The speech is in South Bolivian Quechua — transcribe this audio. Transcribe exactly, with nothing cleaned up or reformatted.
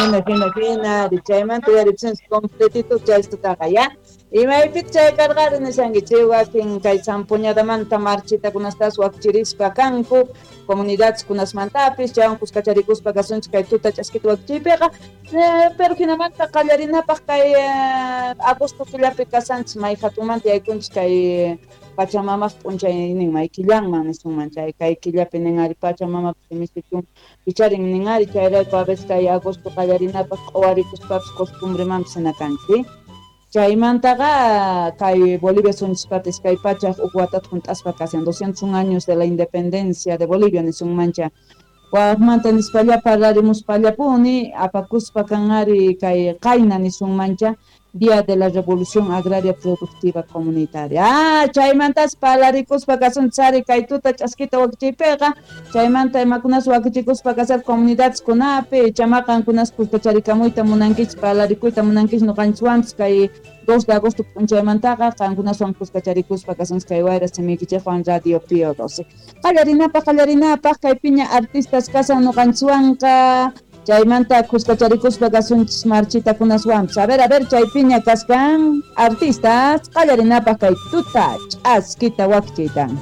Jina, jina, jina, chaymanta uyaripsinchis completito chaystutaqa, ya. Imaypit chay karqari nishanki, wakin kay zampoñadamanta marchitakunastas wakchirispa kanku, comunidades kunasmantapis, chaywan kuskacharikuspa kasunchis kay tuta ch'askita wakichiypiqa, pero jinamanta qallarinapaq kay agosto killapi kasanchis may hatunmanta yaykunchis kay Pachamamaj p'unchaynin may killanman nisunman chay kay killapi nin ari Pachamamapaq imisichun picharin nin ari chayrayku a veces kay agosto qallarinapaq q'uwarikuspapis costumbremanpis hina kanchis. Chaymantaqa kay Bolivia sunchispata iskay pachaj huk watata junt'aspa kasan doscientos un años de la independencia de Bolivia nisunmancha. Wajmanta nispalla parlarimuspallapuni apakuspa kan ari kay qayna nisunmancha Día de la Revolución Agraria Productiva Comunitaria. Ah, chaymantas parlarikuspa kasunchis ari kay tuta ch'askita wakichiypiqa, chaymanta imakunas wakichikuspa kasar comunidades kunapi, chamaqankunas kuskacharikamuyta munankichis, parlarikuyta munankichis noqanchikwanpis kay dos de agosto p'unchaymantaqa qankunaswan kuskacharikuspa kasunchis kay wayra simiykichikwan Radio Pío doce. Qallarinapaq, qallarinapaq kay piña artistas kasan noqanchikwanqa. Chaymanta kuskacharikuspa kasunchis marchitakunaswanpis. A ver, a ver, chay piña kaskan artistas qallarinapaq kay tuta ch'askita wakichiytan.